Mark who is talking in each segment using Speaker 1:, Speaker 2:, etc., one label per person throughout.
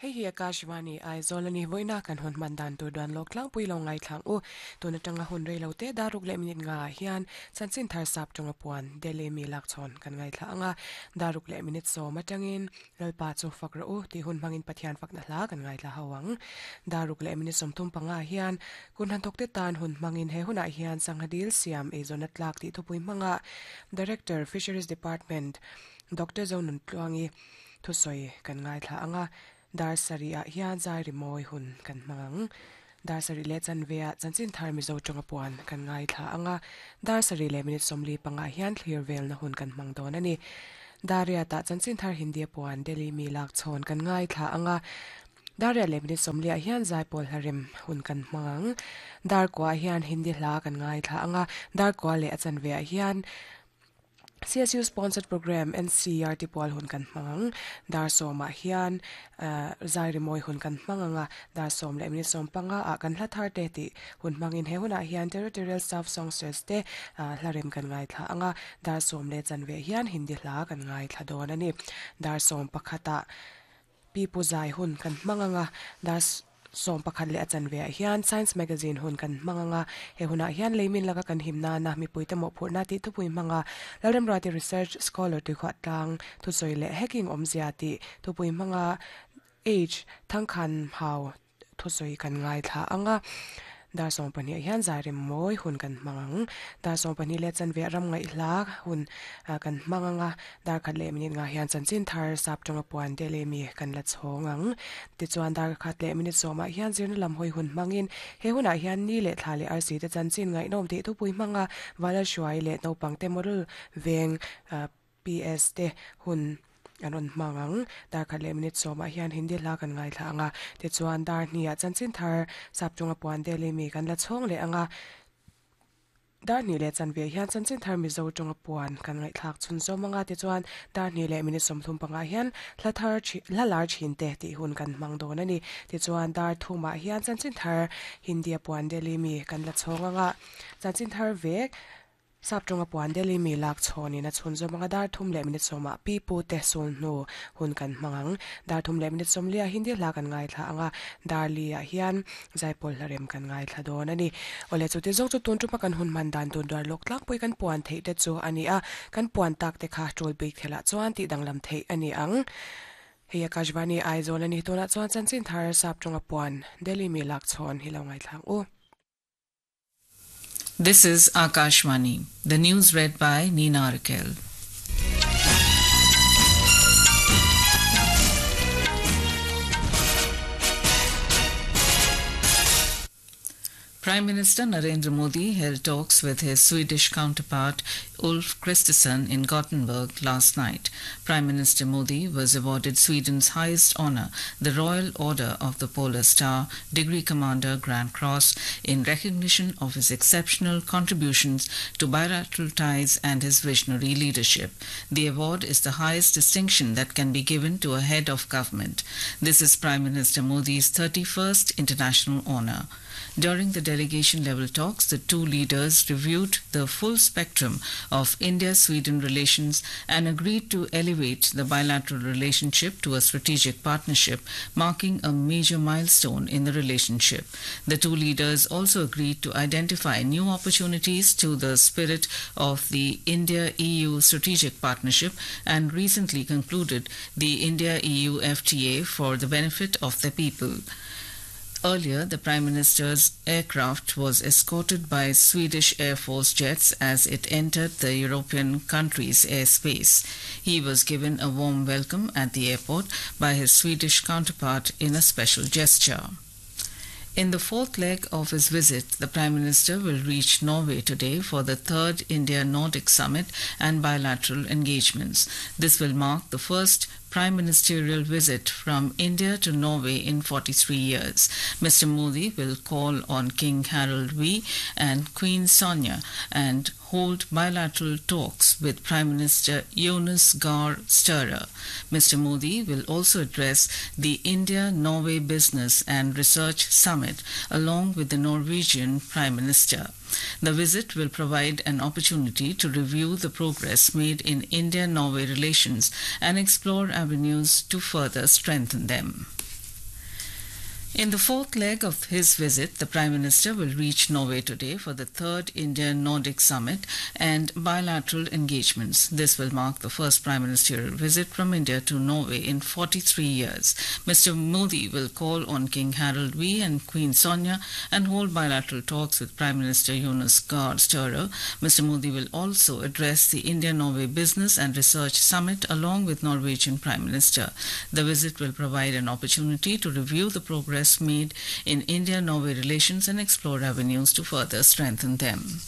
Speaker 1: Hei hi Akashvani, Aizawl a ni. Vawiina kan hawn hman dan tur duan lawk tlangpui lo ngaithlang u. Tun atanga hun rei lo te daruk leh minute nga ah hian chanchin thar sap tawnga puan Delhi mi lakchhawn kan ngaithla ang a. Daruk leh minute sawm atangin Lalpa chu fak rawh u tih hun hmangin Pathian fakna hla kan ngaithla ho ang. Daruk leh minute 35 ah hian kun hnathawk te tan hun hmangin he hunah hian sangha dil siam eizawnna tlak tih thupui hmanga Director, Fisheries Department, Doctor Zonuntluangi, Thusawi kan ngaithla ang a, dar sarih ah hian zai rimawi hun kan hmang ang. Dar sarih leh chanve ah chanchin thar Mizo tawnga puan kan ngaithla ang a, dar sarih leh minute 45 ah hian thlir velna hun kan hmang dawn a ni. Dar riat ah chanchin thar Hindi a puan Delhi mi lak chhawn kan ngaithla ang a, dar riat leh minute 40 ah hian zaipawl hla rem hun kan hmang ang. Dar kua ah hian Hindi hla kan ngaithla ang a, dar kua leh a chanve ah hian CSU sponsored program NCERT pual hun kan hmang ang. Dar sawmah hian zai rimawi hun kan hmang ang a, dar sawm leh minute 15 ah kan hla thar te tih hun hmangin he hunah hian Territorial Staff Songsters te hla rem kan ngaithla ang a, dar sawm leh chanve hian Hindi hla kan ngaithla dawn a ni. Dar 11 ah Pipu zai hun kan hmang ang a, dar 11 leh a chanve ah hian Science Magazine hun kan hmang ang a, he hunah hian leimin laka kan him nana mipuite mawhphurhna tih thupui hmang a, Lalremruati Research Scholar tuikhuah tlang thusawi leh hacking awmzia tih thupui hmang a H Thangkhan Hau thusawi kan ngaithla ang a, dar 12 ah hian zai rem mawi hun kan hmang ang. Dar 12 leh chanve ah ram ngaihhla hun kan hmang ang a, dar khat leh minute ngah hian chanchin thar sap tawnga puan te leh mi kan la chhawng ang. Tichuan dar khat leh minute 10 ah hian zirna lam hawi hun hmangin he hunah hian ni leh thla leh arsi te chanchin ngaihnawm tih thupui hmanga Vala Hruai leh naupang te model veng PS te hun an rawn hmang ang. Dar khat leh minute 10 ah hian Hindi hla kan ngaithla ang a, tichuan dar hnih ah chanchin thar sap chunga puan Delhi mi kan la chhawng leh ang a, dar hnih leh chanve hian chanchin thar Mizo tawnga puan kan ngaihthlak chhun zawm ang a, tichuan dar hnih leh minute 35 hian hla thar hla lar thin te tih hun kan hmang dawn a ni. Tichuan dar thum ah hian chanchin thar Hindi a puan Delhi mi kan la chhawng ang a, chanchin thar vek Sap tawnga puan Delhi mi lak chhawnin a chhun zawm anga dar thum leh minute 10 ah pi pu te sul hnu hun kan hmang ang. Dar thum leh minute 40 ah Hindi hla kan ngaithla ang a, dar li ah hian zaipawl hla rem kan ngaithla dawn a ni. Awle chuti zawk chu tun tuma kan hun hman dan tur duar lawk tlangpui kan puan theih te chu a ni a, kan puan tak te kha tul bik thelah chuan tih danglam theih a ni ang. Hei Akashvani Aizawl a ni. Tunah chuan chanchin thar sap tawnga puan Delhi mi lak chhawn hi lo ngaithla ang u.
Speaker 2: This is Akashvani, the news read by Nina Raquel. Prime Minister Narendra Modi held talks with his Swedish counterpart Ulf Kristersson in Gothenburg last night. Prime Minister Modi was awarded Sweden's highest honor, the Royal Order of the Polar Star, Degree Commander Grand Cross, in recognition of his exceptional contributions to bilateral ties and his visionary leadership. The award is the highest distinction that can be given to a head of government. This is Prime Minister Modi's 31st international honor. During the delegation level talks, the two leaders reviewed the full spectrum of India Sweden relations and agreed to elevate the bilateral relationship to a strategic partnership, marking a major milestone in the relationship. The two leaders also agreed to identify new opportunities to the spirit of the India EU strategic partnership and recently concluded the India EU FTA for the benefit of the people. Earlier, the Prime Minister's aircraft was escorted by Swedish Air Force jets as it entered the European country's airspace. He was given a warm welcome at the airport by his Swedish counterpart in a special gesture. In the fourth leg of his visit, the Prime Minister will reach Norway today for the third India Nordic Summit and bilateral engagements. This will mark the first prime ministerial visit from India to Norway in 43 years. Mr. Modi will call on King Harald V and Queen Sonja and hold bilateral talks with Prime Minister Jonas Gahr Støre. Mr. Modi will also address the India Norway Business and Research Summit along with the Norwegian Prime Minister. The visit will provide an opportunity to review the progress made in India Norway relations and explore avenues to further strengthen them. In the fourth leg of his visit, the Prime Minister will reach Norway today for the third India Nordic Summit and bilateral engagements. This will mark the first Prime Ministerial visit from India to Norway in 43 years. Mr. Modi will call on King Harald V and Queen Sonja and hold bilateral talks with Prime Minister Jonas Gahr Støre. Mr. Modi will also address the India Norway Business and Research Summit along with Norwegian Prime Minister. The visit will provide an opportunity to review the progress made in India Norway relations and explore avenues to further strengthen them.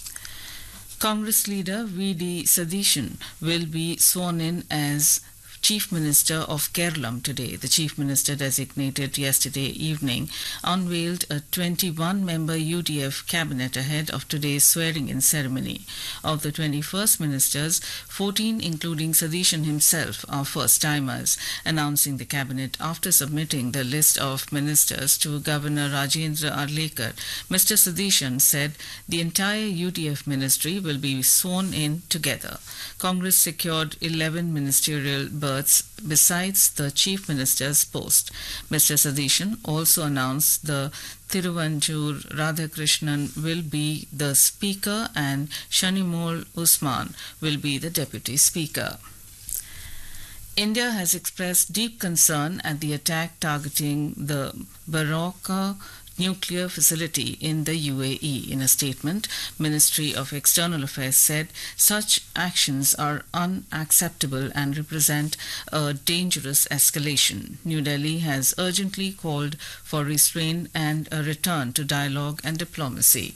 Speaker 2: Congress leader V.D. Sadishan will be sworn in as Chief Minister of Kerala today. The Chief Minister designated yesterday evening unveiled a 21 member UDF cabinet ahead of today's swearing in ceremony. Of the 21st ministers, 14, including Sadishan himself, are first timers. Announcing the cabinet after submitting the list of ministers to Governor Rajendra Arlekar, Mr. Sadishan said the entire UDF ministry will be sworn in together. Congress secured 11 ministerial berths besides the chief minister's post. Mr. Sadishan also announced the Thiruvanjur Radhakrishnan will be the speaker and Shanimol Usman will be the deputy speaker. India has expressed deep concern at the attack targeting the Baroka nuclear facility in the UAE. In a statement, Ministry of External Affairs said such actions are unacceptable and represent a dangerous escalation. New Delhi has urgently called for restraint and a return to dialogue and diplomacy.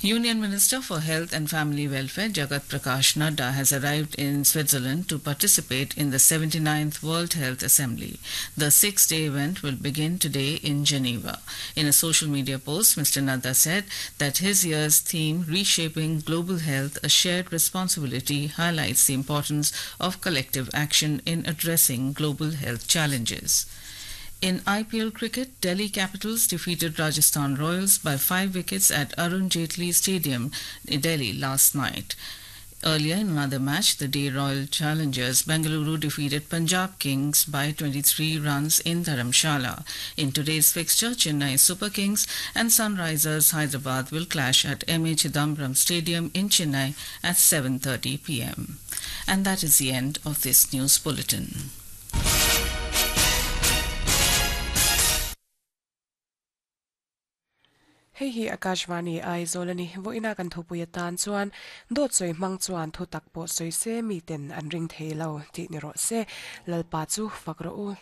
Speaker 2: Union Minister for Health and Family Welfare Jagat Prakash Nadda has arrived in Switzerland to participate in the 79th World Health Assembly. The six day event will begin today in Geneva. In a social media post, Mr. Nadda said that his year's theme, Reshaping Global Health, a Shared Responsibility, highlights the importance of collective action in addressing global health challenges. In IPL cricket, Delhi Capitals defeated Rajasthan Royals by 5 wickets at Arun Jaitley Stadium in Delhi last night. Earlier in another match, the day Royal Challengers Bengaluru defeated Punjab Kings by 23 runs in Dharamshala. In today's fixture, Chennai Super Kings and Sunrisers Hyderabad will clash at M.A. Chidambaram Stadium in Chennai at 7:30 p.m. And that is the end of this news bulletin.
Speaker 1: Hei hi Akashvani Aizawl a ni. Vawiina kan thupui atan chuan dawt sawi hmang chuan thu tak pawh sawi se miten an ring thei lo tih ni rawh se. Lalpa chu fak rawh u.